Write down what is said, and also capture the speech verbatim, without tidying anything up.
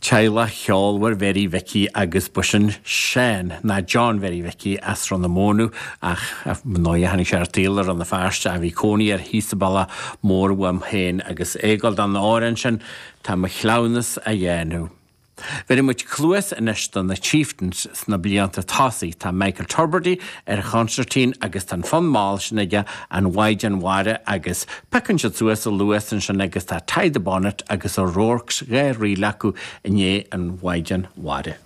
Teaghlach cheolmhar Mhary Mhicí agus b'shin Seán ná John Mhary Mhicí as Ros na Mónadh ach ndóigh tháinig sé ar an tsaol i Rann na Feirste a bhí cónaí air thíos sa Bhealach Mór uaim féin agus é ag gabháil don amhrán sin tá mo chleamhnas á dhéanamh. Bheir muid cluas anois do na Chieftains sna blianta tosaigh tá Michael Tubridy ar chonsairtín agus tá an fonn mall sin aige an Mhaighdean Mhara agus piocann siad suas a luas ansin agus tá Tie the Bonnet agus O'Rourke's dhá ríl acu i ndiaidh an Mhaighdean Mhara.